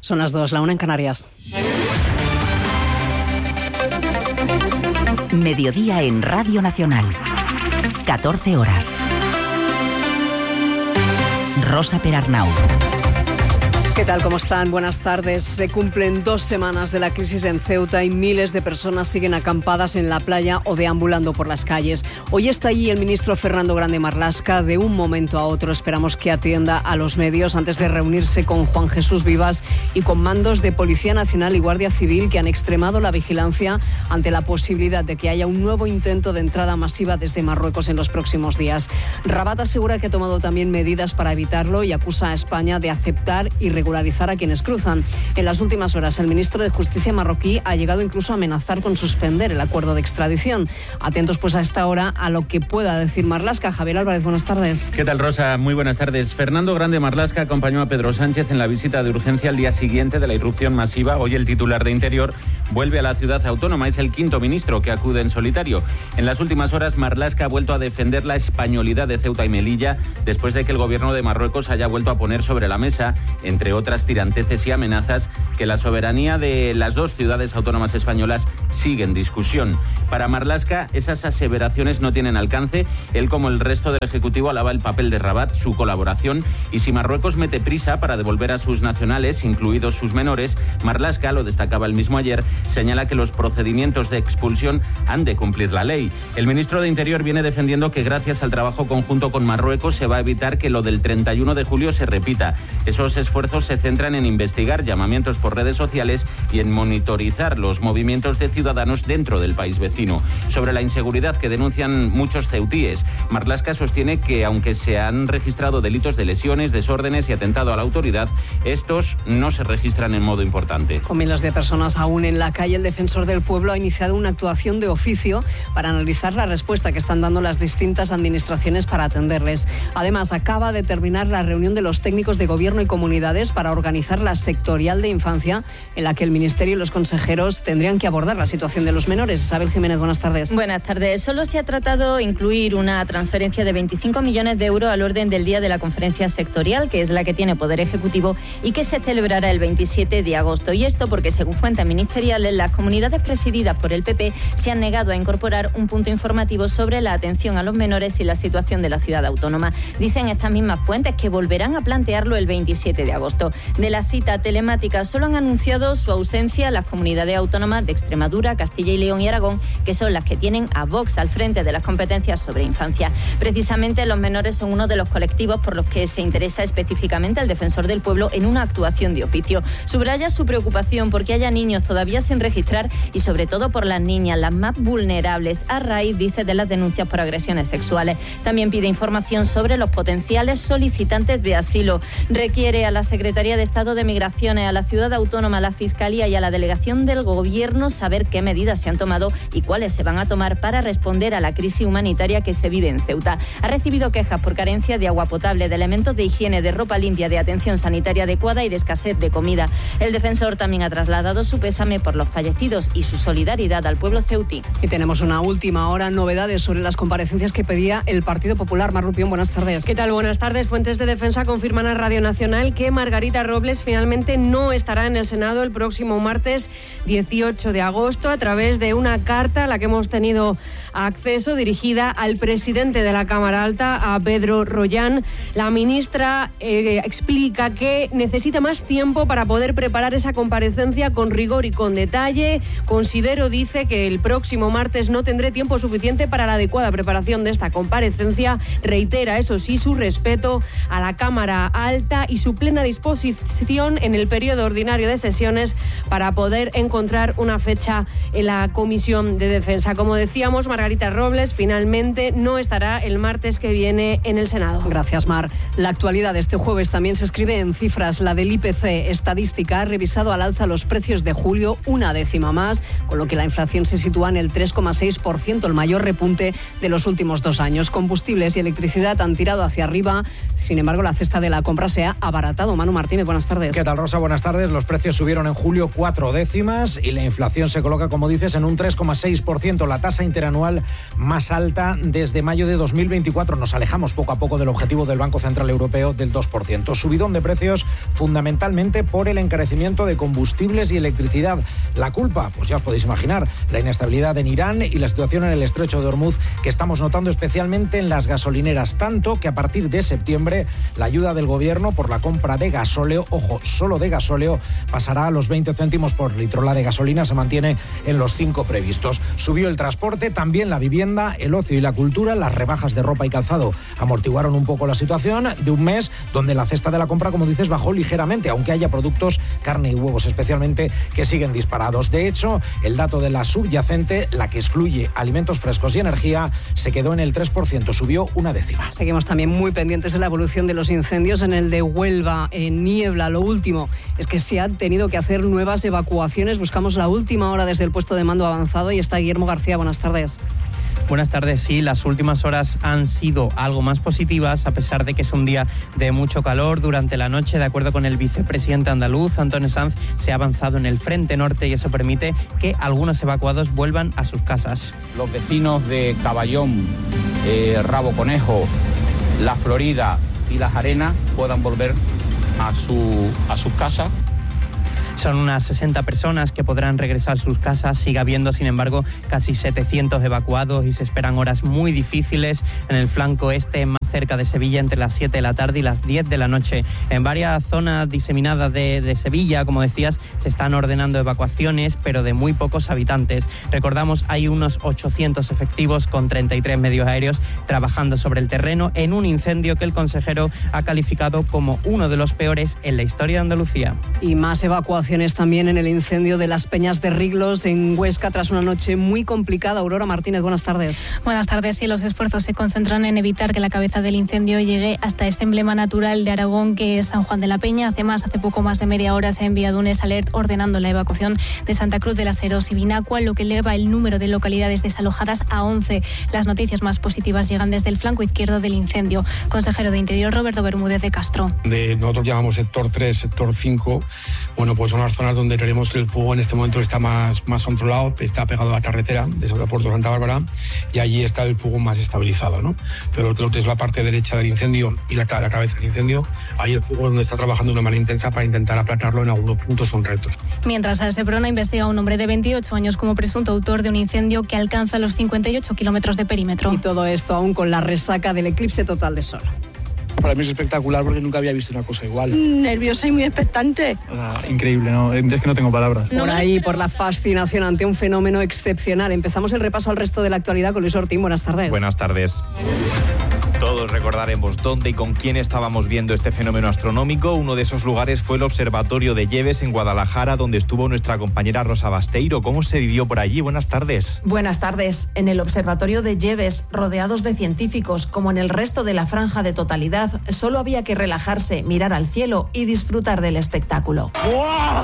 Son las 2, la 1 en Canarias. Mediodía en Radio Nacional. 14 horas. Rosa Perarnau. ¿Qué tal? ¿Cómo están? Buenas tardes. Se cumplen 2 semanas de la crisis en Ceuta y miles de personas siguen acampadas en la playa o deambulando por las calles. Hoy está allí el ministro Fernando Grande Marlaska. De un momento a otro esperamos que atienda a los medios antes de reunirse con Juan Jesús Vivas y con mandos de Policía Nacional y Guardia Civil que han extremado la vigilancia ante la posibilidad de que haya un nuevo intento de entrada masiva desde Marruecos en los próximos días. Rabat asegura que ha tomado también medidas para evitarlo y acusa a España de aceptar y regularizar a quienes cruzan. En las últimas horas, el ministro de Justicia marroquí ha llegado incluso a amenazar con suspender el acuerdo de extradición. Atentos pues a esta hora a lo que pueda decir Marlaska. Javier Álvarez, buenas tardes. ¿Qué tal, Rosa? Muy buenas tardes. Fernando Grande Marlaska acompañó a Pedro Sánchez en la visita de urgencia al día siguiente de la irrupción masiva. Hoy el titular de Interior vuelve a la ciudad autónoma. Es el 5º ministro que acude en solitario. En las últimas horas, Marlaska ha vuelto a defender la españolidad de Ceuta y Melilla después de que el gobierno de Marruecos haya vuelto a poner sobre la mesa, entre otras tiranteces y amenazas, que la soberanía de las 2 ciudades autónomas españolas sigue en discusión. Para Marlaska, esas aseveraciones no tienen alcance. Él, como el resto del Ejecutivo, alaba el papel de Rabat, su colaboración, y si Marruecos mete prisa para devolver a sus nacionales, incluidos sus menores, Marlaska, lo destacaba el mismo ayer, señala que los procedimientos de expulsión han de cumplir la ley. El ministro de Interior viene defendiendo que gracias al trabajo conjunto con Marruecos se va a evitar que lo del 31 de julio se repita. Esos esfuerzos se centran en investigar llamamientos por redes sociales y en monitorizar los movimientos de ciudadanos dentro del país vecino. Sobre la inseguridad que denuncian muchos ceutíes, Marlaska sostiene que aunque se han registrado delitos de lesiones, desórdenes y atentado a la autoridad, estos no se registran en modo importante. Con miles de personas aún en la calle, el defensor del pueblo ha iniciado una actuación de oficio para analizar la respuesta que están dando las distintas administraciones para atenderles. Además, acaba de terminar la reunión de los técnicos de gobierno y comunidades para organizar la sectorial de infancia, en la que el Ministerio y los consejeros tendrían que abordar la situación de los menores. Isabel Jiménez, buenas tardes. Buenas tardes. Solo se ha tratado de incluir una transferencia de 25 millones de euros al orden del día de la conferencia sectorial, que es la que tiene Poder Ejecutivo y que se celebrará el 27 de agosto. Y esto porque, según fuentes ministeriales, las comunidades presididas por el PP se han negado a incorporar un punto informativo sobre la atención a los menores y la situación de la ciudad autónoma. Dicen estas mismas fuentes que volverán a plantearlo el 27 de agosto. De la cita telemática solo han anunciado su ausencia las comunidades autónomas de Extremadura, Castilla y León y Aragón, que son las que tienen a Vox al frente de las competencias sobre infancia. Precisamente los menores son uno de los colectivos por los que se interesa específicamente el defensor del pueblo en una actuación de oficio. Subraya su preocupación porque haya niños todavía sin registrar y sobre todo por las niñas, las más vulnerables, a raíz, dice, de las denuncias por agresiones sexuales. También pide información sobre los potenciales solicitantes de asilo. Requiere a la Secretaría de Estado de Migraciones, a la Ciudad Autónoma, a la Fiscalía y a la Delegación del Gobierno saber qué medidas se han tomado y cuáles se van a tomar para responder a la crisis humanitaria que se vive en Ceuta. Ha recibido quejas por carencia de agua potable, de elementos de higiene, de ropa limpia, de atención sanitaria adecuada y de escasez de comida. El defensor también ha trasladado su pésame por los fallecidos y su solidaridad al pueblo ceutí. Y tenemos una última hora, novedades sobre las comparecencias que pedía el Partido Popular. Mar Rupión, buenas tardes. ¿Qué tal? Buenas tardes. Fuentes de defensa confirman a Radio Nacional que Margarita Robles finalmente no estará en el Senado el próximo martes 18 de agosto a través de una carta a la que hemos tenido acceso dirigida al presidente de la Cámara Alta, a Pedro Rollán. La ministra explica que necesita más tiempo para poder preparar esa comparecencia con rigor y con detalle. Considero, dice, que el próximo martes no tendré tiempo suficiente para la adecuada preparación de esta comparecencia. Reitera, eso sí, su respeto a la Cámara Alta y su plena disposición en el periodo ordinario de sesiones para poder encontrar una fecha en la Comisión de Defensa. Como decíamos, Margarita Robles finalmente no estará el martes que viene en el Senado. Gracias, Mar. La actualidad de este jueves también se escribe en cifras. La del IPC estadística ha revisado al alza los precios de julio, una décima más, con lo que la inflación se sitúa en el 3,6%, el mayor repunte de los últimos 2 años. Combustibles y electricidad han tirado hacia arriba. Sin embargo, la cesta de la compra se ha abaratado. Manu Martínez, buenas tardes. ¿Qué tal, Rosa? Buenas tardes. Los precios subieron en julio 4 décimas y la inflación se coloca, como dices, en un 3,6%, la tasa interanual más alta desde mayo de 2024. Nos alejamos poco a poco del objetivo del Banco Central Europeo del 2%. Subidón de precios fundamentalmente por el encarecimiento de combustibles y electricidad. La culpa, pues ya os podéis imaginar, la inestabilidad en Irán y la situación en el estrecho de Hormuz que estamos notando especialmente en las gasolineras, tanto que a partir de septiembre la ayuda del gobierno por la compra de gasóleo, ojo, solo de gasóleo, pasará a los 20 céntimos por litro. La de gasolina se mantiene en los 5 previstos. Subió el transporte, también la vivienda, el ocio y la cultura. Las rebajas de ropa y calzado amortiguaron un poco la situación de un mes donde la cesta de la compra, como dices, bajó ligeramente, aunque haya productos, carne y huevos especialmente, que siguen disparados. De hecho, el dato de la subyacente, la que excluye alimentos frescos y energía, se quedó en el 3%, subió 1 décima. Seguimos también muy pendientes de la evolución de los incendios en el de Huelva, en Niebla. Lo último es que se han tenido que hacer nuevas evacuaciones. Buscamos la última hora desde el puesto de mando avanzado y está Guillermo García. Buenas tardes. Buenas tardes. Sí, las últimas horas han sido algo más positivas, a pesar de que es un día de mucho calor. Durante la noche, de acuerdo con el vicepresidente andaluz, Antonio Sanz, se ha avanzado en el frente norte y eso permite que algunos evacuados vuelvan a sus casas. Los vecinos de Caballón, Rabo Conejo, La Florida y Las Arenas puedan volver a sus casas. Son unas 60 personas que podrán regresar a sus casas. Sigue habiendo, sin embargo, casi 700 evacuados y se esperan horas muy difíciles en el flanco este, más cerca de Sevilla, entre las 7 de la tarde y las 10 de la noche. En varias zonas diseminadas de Sevilla, como decías, se están ordenando evacuaciones, pero de muy pocos habitantes. Recordamos, hay unos 800 efectivos con 33 medios aéreos trabajando sobre el terreno en un incendio que el consejero ha calificado como uno de los peores en la historia de Andalucía. Y más evacuaciones también en el incendio de las Peñas de Riglos en Huesca tras una noche muy complicada. Aurora Martínez, buenas tardes. Buenas tardes. Sí, los esfuerzos se concentran en evitar que la cabeza del incendio llegue hasta este emblema natural de Aragón, que es San Juan de la Peña. Además, hace poco más de media hora se ha enviado un alert ordenando la evacuación de Santa Cruz de las Heros y Binacua, lo que eleva el número de localidades desalojadas a 11. Las noticias más positivas llegan desde el flanco izquierdo del incendio. Consejero de Interior, Roberto Bermúdez de Castro. Nosotros llamamos sector 3, sector 5. Bueno, pues son las zonas donde creemos que el fuego en este momento está más controlado, está pegado a la carretera de Puerto Santa Bárbara y allí está el fuego más estabilizado, ¿no? Pero creo que es la parte derecha del incendio y la cabeza del incendio, ahí el fuego es donde está trabajando de una manera intensa para intentar aplacarlo en algunos puntos concretos. Mientras el Seprona investiga a un hombre de 28 años como presunto autor de un incendio que alcanza los 58 kilómetros de perímetro. Y todo esto aún con la resaca del eclipse total de sol. Para mí es espectacular porque nunca había visto una cosa igual. Nerviosa y muy expectante. Increíble, ¿no? Es que no tengo palabras. Por ahí, por la fascinación ante un fenómeno excepcional. Empezamos el repaso al resto de la actualidad con Luis Ortín. Buenas tardes. Buenas tardes. Todos recordaremos dónde y con quién estábamos viendo este fenómeno astronómico. Uno de esos lugares fue el Observatorio de Lleves en Guadalajara, donde estuvo nuestra compañera Rosa Basteiro. ¿Cómo se vivió por allí? Buenas tardes. Buenas tardes. En el Observatorio de Lleves, rodeados de científicos, como en el resto de la franja de totalidad, solo había que relajarse, mirar al cielo y disfrutar del espectáculo. ¡Wow!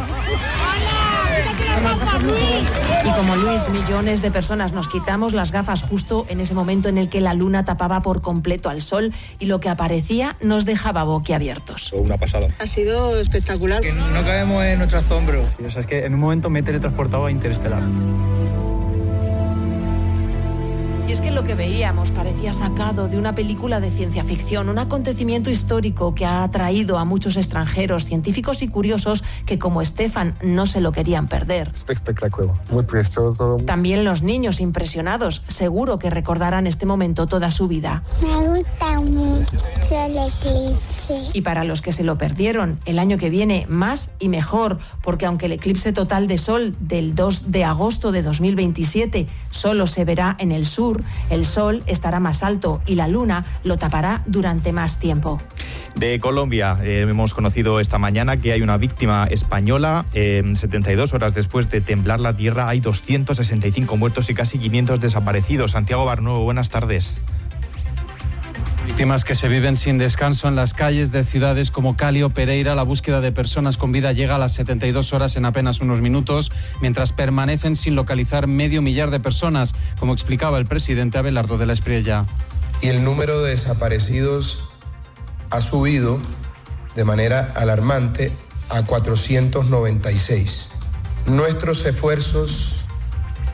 Y como Luis, millones de personas nos quitamos las gafas justo en ese momento en el que la luna tapaba por completo al sol y lo que aparecía nos dejaba boquiabiertos. Una pasada. Ha sido espectacular. Que no cabemos en nuestro asombro. Sí, o sea, es que en un momento me he teletransportado a Interestelar. Y es que lo que veíamos parecía sacado de una película de ciencia ficción, un acontecimiento histórico que ha atraído a muchos extranjeros, científicos y curiosos que, como Estefan, no se lo querían perder. Espectacular, muy precioso. También los niños impresionados, seguro que recordarán este momento toda su vida. Me gusta mucho el eclipse. Y para los que se lo perdieron, el año que viene más y mejor, porque aunque el eclipse total de sol del 2 de agosto de 2027 solo se verá en el sur, el sol estará más alto y la luna lo tapará durante más tiempo. De Colombia, hemos conocido esta mañana que hay una víctima española. 72 horas después de temblar la tierra hay 265 muertos y casi 500 desaparecidos. Santiago Barnuevo, buenas tardes. Víctimas que se viven sin descanso en las calles de ciudades como Cali o Pereira. La búsqueda de personas con vida llega a las 72 horas en apenas unos minutos, mientras permanecen sin localizar 500.000 de personas, como explicaba el presidente Abelardo de la Espriella. Y el número de desaparecidos ha subido de manera alarmante a 496. Nuestros esfuerzos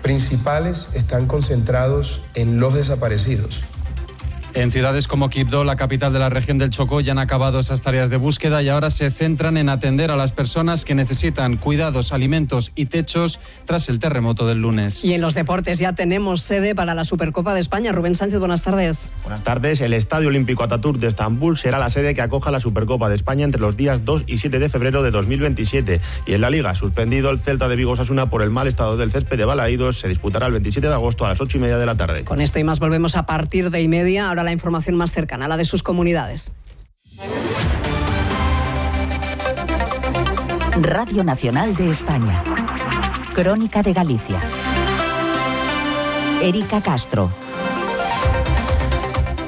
principales están concentrados en los desaparecidos. En ciudades como Quibdó, la capital de la región del Chocó, ya han acabado esas tareas de búsqueda y ahora se centran en atender a las personas que necesitan cuidados, alimentos y techos tras el terremoto del lunes. Y en los deportes ya tenemos sede para la Supercopa de España. Rubén Sánchez, buenas tardes. Buenas tardes. El Estadio Olímpico Atatürk de Estambul será la sede que acoja la Supercopa de España entre los días 2 y 7 de febrero de 2027. Y en la Liga, suspendido el Celta de Vigo Osasuna por el mal estado del césped de Balaídos, se disputará el 27 de agosto a las 8:30 de la tarde. Con esto y más volvemos a partir de 1:30. Ahora la información más cercana, la de sus comunidades. Radio Nacional de España. Crónica de Galicia. Erika Castro.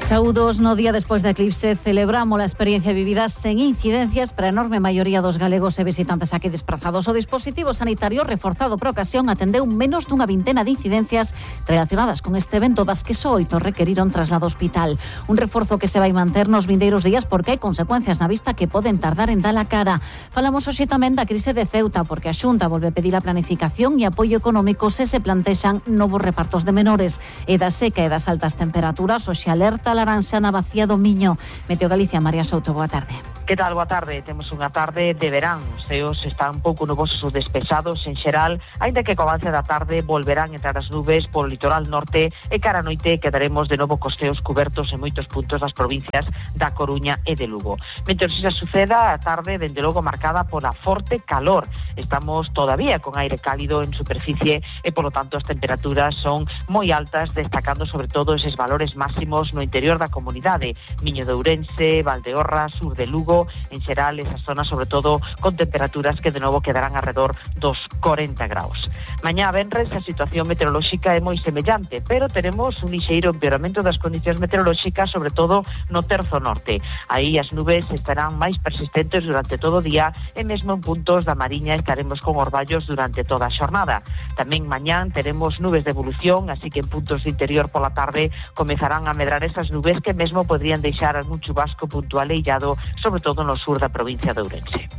Saúdos, no día despois da eclipse, celebramos a experiencia vivida sen incidencias para a enorme maioría dos galegos e visitantes aquí desprazados. O dispositivo sanitario reforzado por ocasión atendeu menos dunha vintena de incidencias relacionadas con este evento, das que só 8 requeriron traslado ao hospital. Un reforzo que se vai manter nos vindeiros días porque hai consecuencias na vista que poden tardar en dar a cara. Falamos hoxe tamén da crise de Ceuta porque a Xunta volve a pedir a planificación e apoio económico se se plantexan novos repartos de menores. E da seca e das altas temperaturas, hoxe alerta laranxa na Bacía do Miño. Meteo Galicia, María Souto, boa tarde. Que tal? Boa tarde. Temos unha tarde de verán. Os ceos están un pouco nubosos ou despejados en xeral, aínda que co avance da tarde volverán entrar as nubes polo litoral norte e cara a noite quedaremos de novo cos ceos cubertos en moitos puntos das provincias da Coruña e de Lugo. Mentre se suceda, a tarde dende logo marcada pola forte calor. Estamos todavía con aire cálido en superficie e polo tanto as temperaturas son moi altas, destacando sobre todo eses valores máximos no interior da comunidade, Miño de Ourense, Valdeorras, sur de Lugo, en xeral esas zonas sobre todo con temperaturas que de novo quedarán alrededor dos 40 graus. Mañá venres a situación meteorolóxica é moi semellante, pero teremos un lixeiro empeoramento das condicións meteorolóxicas, sobre todo no terzo norte. Aí as nubes estarán máis persistentes durante todo o día e mesmo en puntos da Mariña estaremos con orballos durante toda a xornada. Tamén mañán teremos nubes de evolución, así que en puntos do interior pola tarde comezarán a medrar esas nubes que mesmo podrían deixar algún chubasco puntual e illado, sobre todo no sur da provincia de Ourense.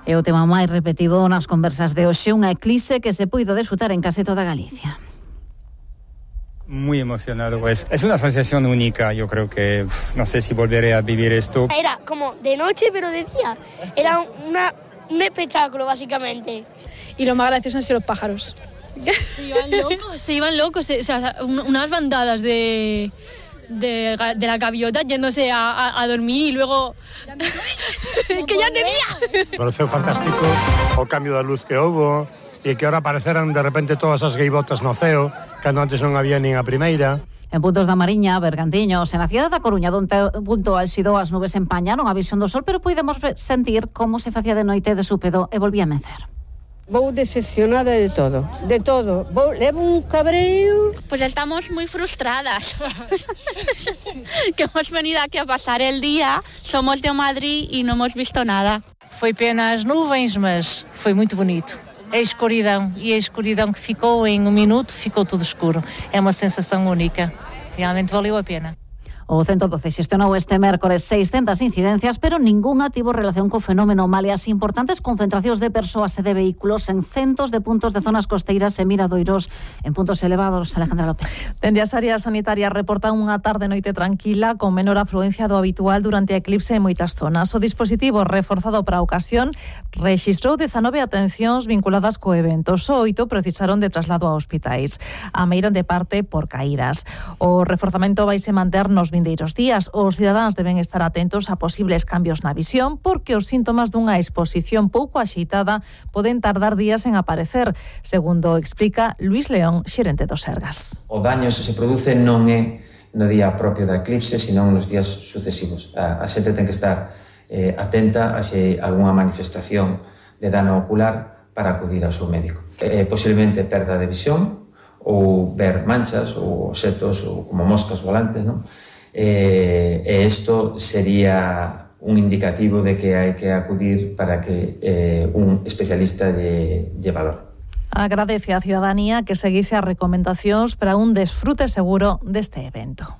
E o tema máis repetido nas conversas de hoxe, unha eclipse que se puido desfrutar en case toda Galicia. Muy emocionado, pues. Es una sensación única, yo creo que no sé si volveré a vivir esto. Era como de noche, pero de día. Era un espectáculo, básicamente. Y lo más gracioso han sido los pájaros. Se iban locos, o sea, unas bandadas de la gaviota yéndose a dormir y luego que ya de día. Me pareceu fantástico o cambio da luz que houbo e que ahora apareceran de repente todas as gaivotas no ceo, cando antes non había nin a primeira. En puntos da Mariña, Bergantiños, en a cidade da Coruña, donde punto álxido as nubes empañaron a visión do sol, pero puidemos sentir como se facía de noite de súpedo e volvía a mencer. Vou decepcionada de todo, de todo. Levo un cabreo. Pues estamos muy frustradas. Que hemos venido aquí a pasar el día, somos de Madrid y no hemos visto nada. Foi pena as nuvens, mas foi muito bonito. A escuridão, e a escuridão que ficou em um minuto, ficou tudo escuro. É uma sensação única. Realmente valeu a pena. O 112 xestionou este mércores 600 incidencias, pero ningunha tivo relación co fenómeno, maleas importantes concentracións de persoas e de vehículos en centos de puntos de zonas costeiras e miradoiros en puntos elevados. Alejandra López. Dende as áreas sanitarias reportan unha tarde noite tranquila con menor afluencia do habitual durante a eclipse en moitas zonas. O dispositivo reforzado para a ocasión rexistrou 19 atencións vinculadas co evento. Só 8 precisaron de traslado a hospitais. A meiran de parte por caídas. O reforzamento vaise manter nos vindeiros días. Os cidadáns deben estar atentos a posibles cambios na visión porque os síntomas dunha exposición pouco axeitada poden tardar días en aparecer, segundo explica Luís León, xerente do Sergas. O daño se produce non é no día propio da eclipse, senón nos días sucesivos. A xente ten que estar atenta a se algunha manifestación de dano ocular para acudir ao seu médico. Posiblemente perda de visión ou ver manchas ou obxetos ou como moscas volantes, non? E isto sería un indicativo de que hai que acudir para que un especialista lle valore. Agradece á cidadanía que seguise as recomendacións para un desfrute seguro deste evento.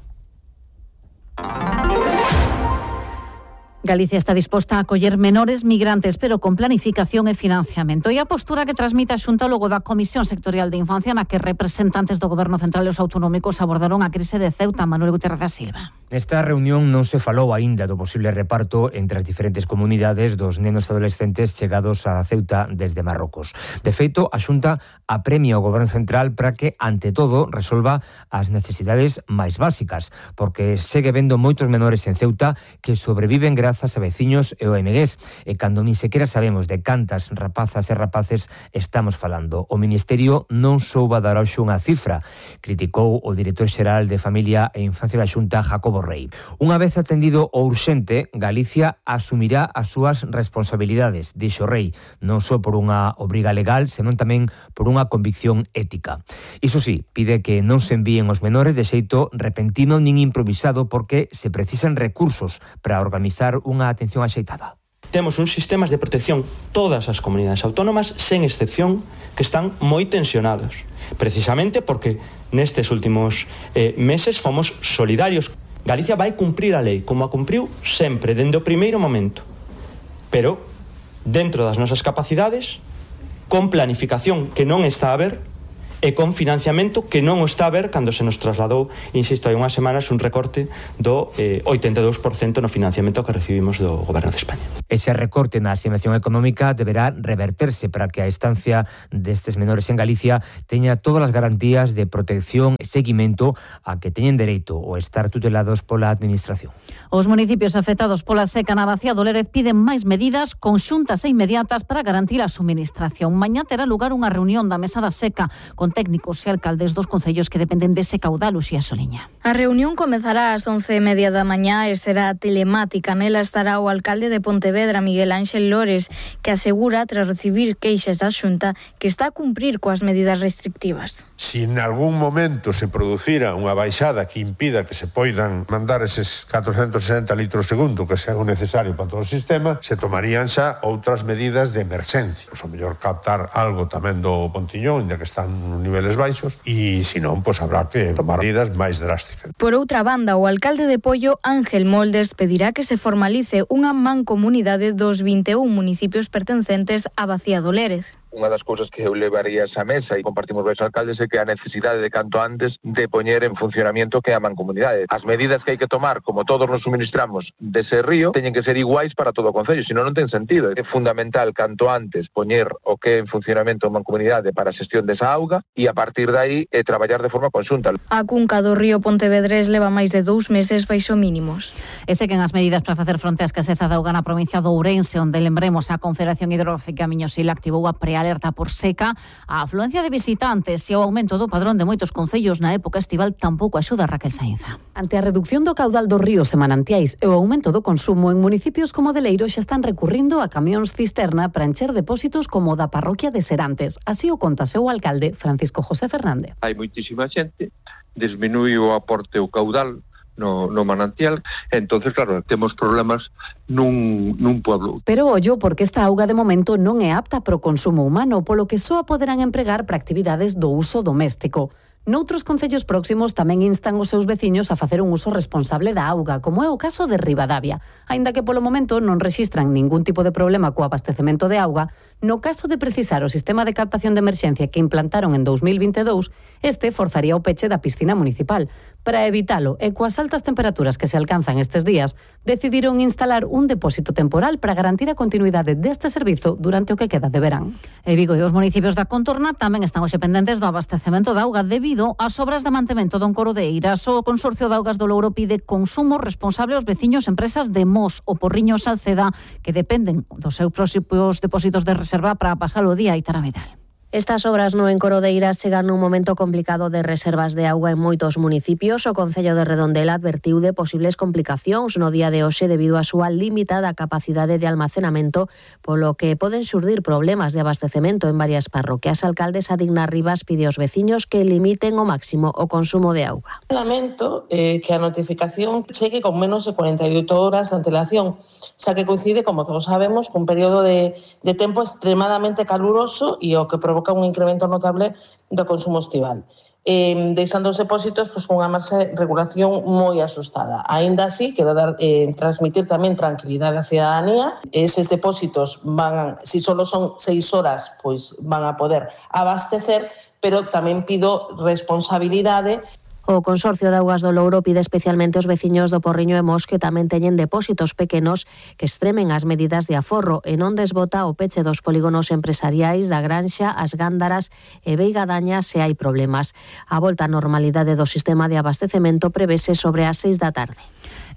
Galicia está disposta a acoller menores migrantes, pero con planificación e financiamento. E a postura que transmite a Xunta logo da Comisión Sectorial de Infancia, na que representantes do Goberno Central e os autonómicos abordaron a crise de Ceuta. Manuel Guterres da Silva. Nesta reunión non se falou aínda do posible reparto entre as diferentes comunidades dos nenos adolescentes chegados a Ceuta desde Marrocos. De feito, a Xunta apremia o Goberno Central para que, ante todo, resolva as necesidades máis básicas, porque segue vendo moitos menores en Ceuta que sobreviven grazas a veciños e ONGs, e cando ni sequera sabemos de cantas rapazas e rapaces estamos falando. O Ministerio non souba dar hoxe unha cifra, criticou o director xeral de Familia e Infancia da Xunta, Jacobo Rei. Unha vez atendido o urxente, Galicia asumirá as súas responsabilidades, dixo Rei, non só por unha obriga legal, senón tamén por unha convicción ética. Iso sí, pide que non se envíen os menores de xeito repentino nin improvisado, porque se precisan recursos para organizar unha atención axeitada. Temos uns sistemas de protección, todas as comunidades autónomas, sen excepción, que están moi tensionados. Precisamente porque nestes últimos meses fomos solidarios. Galicia vai cumprir a lei, como a cumpriu sempre, dende o primeiro momento. Pero, dentro das nosas capacidades, con planificación que non está a ver, e con financiamento que non o está a ver cando se nos trasladou, insisto, hai unhas semanas un recorte do 82% no financiamento que recibimos do Goberno de España. Ese recorte na asignación económica deberá reverterse para que a estancia destes menores en Galicia teña todas as garantías de protección e seguimento a que teñen dereito ou estar tutelados pola Administración. Os municipios afectados pola seca na Bacía do Lérez piden máis medidas conxuntas e inmediatas para garantir a suministración. Mañá terá lugar unha reunión da Mesa da Seca con técnicos e alcaldes dos concellos que dependen dese caudal. Uxía Soliña. A reunión comezará ás 11:30 da mañá e será telemática. Nela estará o alcalde de Pontevedra, Miguel Ángel Lores, que asegura, tras recibir queixas da Xunta, que está a cumprir coas medidas restrictivas. Si en algún momento se producira unha baixada que impida que se poidan mandar eses 460 litros segundo que sea necesario para todo o sistema, se tomarían xa outras medidas de emerxencia. O mellor captar algo tamén do Pontiñón, ya que están niveles baixos, e se non, pois habrá que tomar medidas máis drásticas. Por outra banda, o alcalde de Pollo, Ángel Moldes, pedirá que se formalice unha mancomunidade dos 21 municipios pertencentes á Bacía do Lérez. Unha das cousas que eu levaría a esa mesa e compartimos varios alcaldes é que a necesidade de canto antes de poñer en funcionamento que a mancomunidade. As medidas que hai que tomar, como todos nos suministramos dese río, teñen que ser iguais para todo o concello, senón non ten sentido. É fundamental canto antes poñer o que é en funcionamento a mancomunidade para a xestión desa auga e a partir de aí traballar de forma conxunta. A cunca do río Pontevedrés leva máis de 2 meses baixo mínimos. E seguen as medidas para facer fronte á escaseza de auga na provincia de Ourense, onde lembremos a Confederación Hidrográfica Miño-Sil activou a prealerta por seca. A afluencia de visitantes e o aumento do padrón de moitos concellos na época estival tampouco axuda a Raquel Sainza. Ante a reducción do caudal dos ríos e manantiais e o aumento do consumo, en municipios como Deleiro xa están recurrindo a camións cisterna para encher depósitos como o da parroquia de Serantes. Así o conta seu alcalde, Francisco José Fernández. Hai moitísima xente, disminuí o aporte o caudal no manantial, entonces claro, temos problemas nun pueblo. Pero ollo, porque esta auga de momento non é apta para o consumo humano, polo que só a poderán empregar para actividades do uso doméstico. Noutros concellos próximos tamén instan os seus veciños a facer un uso responsable da auga, como é o caso de Ribadavia. Aínda que polo momento non rexistran ningún tipo de problema co abastecemento de auga, no caso de precisar o sistema de captación de emerxencia que implantaron en 2022, este forzaría o peche da piscina municipal. Para evitalo e coas altas temperaturas que se alcanzan estes días, decidiron instalar un depósito temporal para garantir a continuidade deste servizo durante o que queda de verán. E Vigo e os municipios da contorna tamén están hoxe pendentes do abastecemento da auga debido ás obras de mantemento do Encoro de Eiras. O Consorcio de Augas do Louro pide consumo responsable aos veciños e empresas de Mos o Porriño Salceda, que dependen dos seus próximos depósitos de reserva para pasar o día. Aitana Vidal. Estas obras no Encoro de Eiras chegan nun momento complicado de reservas de auga en moitos municipios. O Concello de Redondela advertiu de posibles complicacións no día de hoxe debido á súa limitada capacidade de almacenamento, polo que poden xurdir problemas de abastecemento en varias parroquias. Alcaldes Adigna Rivas pide aos veciños que limiten ao máximo o consumo de auga. Lamento que a notificación chegue con menos de 48 horas de antelación, xa que coincide, como todos sabemos, cun período de tempo extremadamente caluroso e o que provoca un incremento notable do consumo estival. deixando os depósitos cunha marxa de regulación moi asustada. Aínda así, quero transmitir tamén tranquilidade á cidadanía. Eses depósitos se só son 6 horas, pois van a poder abastecer, pero tamén pido responsabilidade. O Consorcio de Augas do Louro pide especialmente aos veciños do Porriño e Mos que tamén teñen depósitos pequenos que extremen as medidas de aforro e non desbota o peche dos polígonos empresariais da Granxa, as Gándaras e Veigadaña se hai problemas. A volta á normalidade do sistema de abastecemento prevese sobre as 6 da tarde.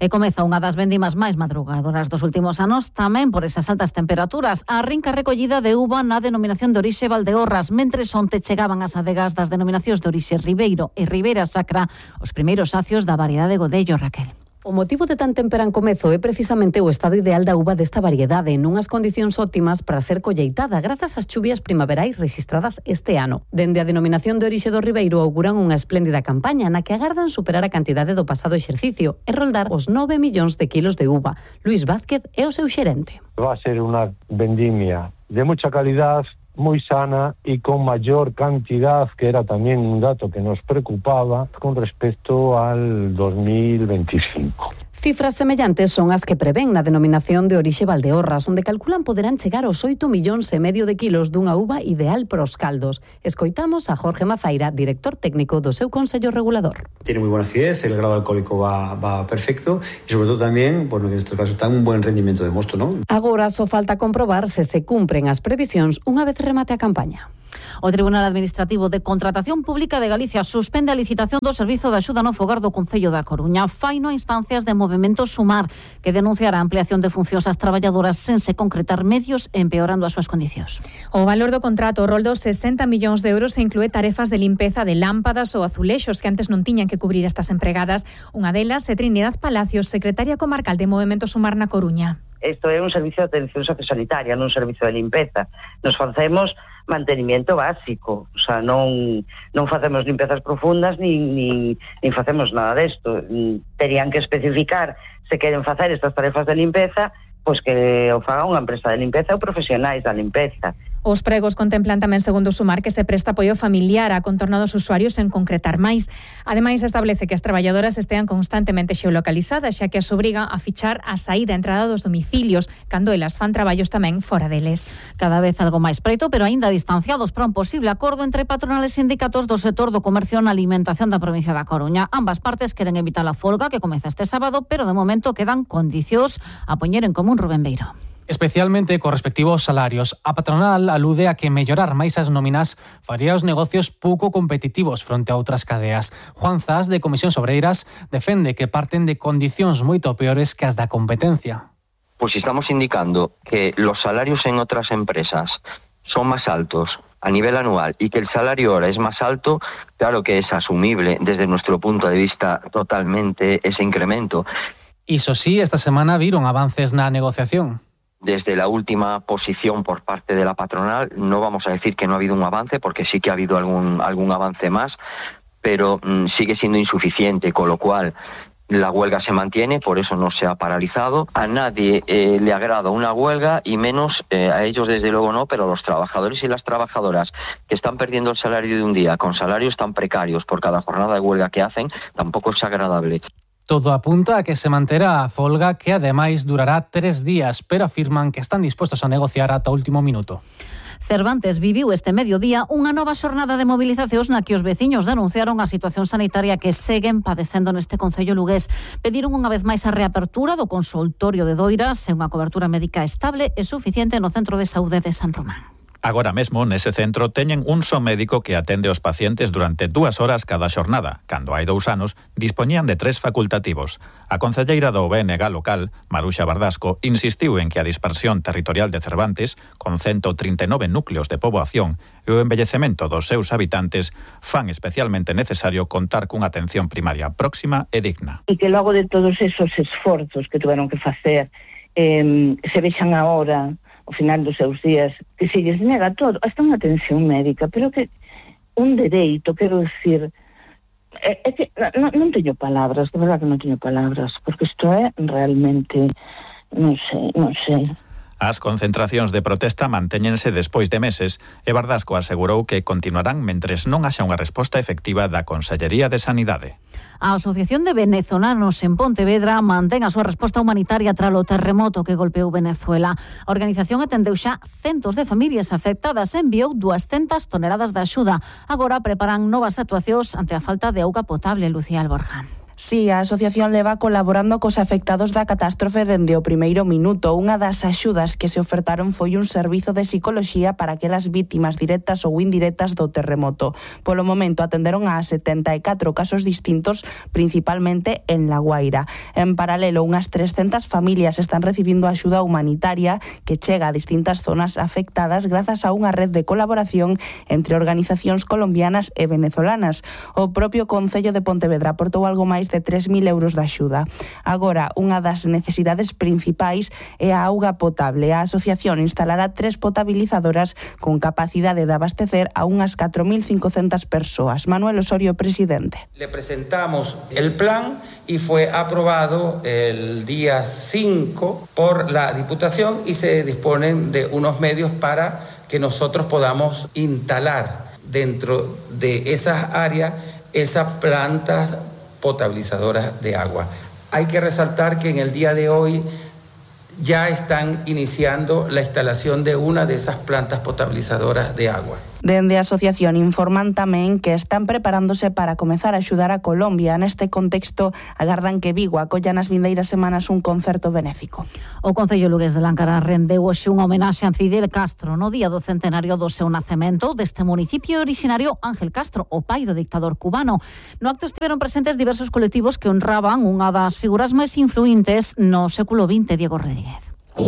E comeza unha das vendimas máis madrugadoras dos últimos anos, tamén por esas altas temperaturas. Arrinca a recollida de uva na denominación de orixe Valdeorras, mentres onte chegaban as adegas das denominacións de orixe Ribeiro e Ribeira Sacra, os primeiros sacios da variedade Godello, Raquel. O motivo de tan temperán comezo é precisamente o estado ideal da uva desta variedade, nunhas condicións óptimas para ser colleitada grazas ás chuvias primaverais rexistradas este ano. Dende a denominación de orixe do Ribeiro auguran unha espléndida campaña na que agardan superar a cantidade do pasado exercicio e roldar os 9 millóns de kilos de uva. Luis Vázquez é o seu xerente. Va a ser unha vendimia de mucha calidad, moi sana e con maior cantidad, que era tamén un dato que nos preocupaba con respecto al 2025. Cifras semellantes son as que prevén na denominación de orixe Valdeorras, onde calculan poderán chegar aos 8,5 millóns de kilos dunha uva ideal para os caldos. Escoitamos a Jorge Mazaira, director técnico do seu Consello Regulador. Tiene muy buena acidez, el grado alcohólico va perfecto y sobre todo tamén, bueno, que en estos casos está un buen rendimiento de mosto, ¿no? Agora só falta comprobar se cumpren as previsións unha vez remate a campaña. O Tribunal Administrativo de Contratación Pública de Galicia suspende a licitación do Servizo de Axuda no Fogar do Concello da Coruña. Faino a instancias de Movemento Sumar, que denunciará a ampliación de funcións ás traballadoras sen se concretar medios e empeorando as súas condicións. O valor do contrato roldo 60 millóns de euros e inclúe tarefas de limpeza de lámpadas ou azulexos que antes non tiñan que cubrir estas empregadas. Unha delas é Trinidad Palacios, secretaria comarcal de Movemento Sumar na Coruña. Isto é un servicio de atención sociosanitaria, non un servicio de limpeza. Nos facemos mantenimiento básico, o sea, non facemos limpezas profundas nin facemos nada desto. Terían que especificar se queren facer estas tarefas de limpeza, pois que o faga unha empresa de limpeza ou profesionais da limpeza. Os pregos contemplan tamén, segundo Sumar, que se presta apoio familiar a contorno dos usuarios en concretar máis. Ademais, establece que as traballadoras estean constantemente xeolocalizadas, xa que as obriga a fichar a saída e entrada dos domicilios, cando elas fan traballos tamén fora deles. Cada vez algo máis preto, pero aínda distanciados para un posible acordo entre patronales e sindicatos do sector do comercio na alimentación da provincia da Coruña. Ambas partes queren evitar a folga que comeza este sábado, pero de momento quedan condicións a poñer en común. Rubén Beiro. Especialmente con respectivo aos salarios. A patronal alude a que mellorar máis as nóminas faría os negocios pouco competitivos fronte a outras cadeas. Juan Zas, de Comisións Obreiras, defende que parten de condicións moito peores que as da competencia. Pues estamos indicando que los salarios en otras empresas son más altos a nivel anual y que el salario ahora es más alto, claro que es asumible desde nuestro punto de vista totalmente ese incremento. Iso sí, esta semana viron avances na negociación. Desde la última posición por parte de la patronal, no vamos a decir que no ha habido un avance, porque sí que ha habido algún avance más, pero sigue siendo insuficiente, con lo cual la huelga se mantiene, por eso no se ha paralizado. A nadie le agrada una huelga, y menos a ellos desde luego no, pero los trabajadores y las trabajadoras que están perdiendo el salario de un día, con salarios tan precarios por cada jornada de huelga que hacen, tampoco es agradable. Todo apunta a que se manterá a folga, que ademais durará 3 días, pero afirman que están dispuestos a negociar ata o último minuto. Cervantes viviu este mediodía unha nova xornada de movilizacións na que os veciños denunciaron a situación sanitaria que seguen padecendo neste concello lugués. Pediron unha vez máis a reapertura do consultorio de Doiras e unha cobertura médica estable e suficiente no Centro de Saúde de San Román. Agora mesmo, nese centro, teñen un só médico que atende os pacientes durante 2 horas cada xornada. Cando hai 2 anos, dispoñían de 3 facultativos. A concelleira do BNG local, Maruxa Bardasco, insistiu en que a dispersión territorial de Cervantes, con 139 núcleos de poboación e o envellecemento dos seus habitantes, fan especialmente necesario contar cunha atención primaria próxima e digna. E que logo de todos esos esforzos que tuveron que facer, se vexan agora ao final dos seus días, que se lles nega todo, hasta unha atención médica, pero que un dereito, quero dicir, é que non teño palabras, de verdade que non teño palabras, porque isto é realmente, non sei. As concentracións de protesta mantéñense despois de meses e Bardasco asegurou que continuarán mentres non haxa unha resposta efectiva da Consellería de Sanidade. A Asociación de Venezolanos en Pontevedra mantén a súa resposta humanitaria tras o terremoto que golpeou Venezuela. A organización atendeu xa centos de familias afectadas e enviou 200 toneladas de axuda. Agora preparan novas actuacións ante a falta de auga potable. Lucía Alborja. Sí, a asociación leva colaborando cos afectados da catástrofe dende o primeiro minuto. Unha das axudas que se ofertaron foi un servizo de psicoloxía para aquelas vítimas directas ou indirectas do terremoto. Polo momento atenderon a 74 casos distintos, principalmente en La Guaira. En paralelo, unhas 300 familias están recibindo axuda humanitaria que chega a distintas zonas afectadas grazas a unha red de colaboración entre organizacións colombianas e venezolanas. O propio Concello de Pontevedra aportou algo máis de 3.000 euros de axuda. Agora, unha das necesidades principais é a auga potable. A asociación instalará 3 potabilizadoras con capacidade de abastecer a unhas 4.500 persoas. Manuel Osorio, presidente. Le presentamos el plan y fue aprobado el día 5 por la Diputación y se disponen de unos medios para que nosotros podamos instalar dentro de esas áreas esas plantas potabilizadoras de agua. Hay que resaltar que en el día de hoy ya están iniciando la instalación de una de esas plantas potabilizadoras de agua. Dende a asociación informan tamén que están preparándose para comezar a axudar a Colombia. Neste contexto, agardan que Vigo acolla nas vindeiras semanas un concerto benéfico. O Concello lugués de Láncara rendeu hoxe unha homenaxe a Fidel Castro no día do centenario do seu nacemento deste municipio originario Ángel Castro, o pai do dictador cubano. No acto estiveron presentes diversos colectivos que honraban unha das figuras máis influíntes no século XX, Diego Rodríguez.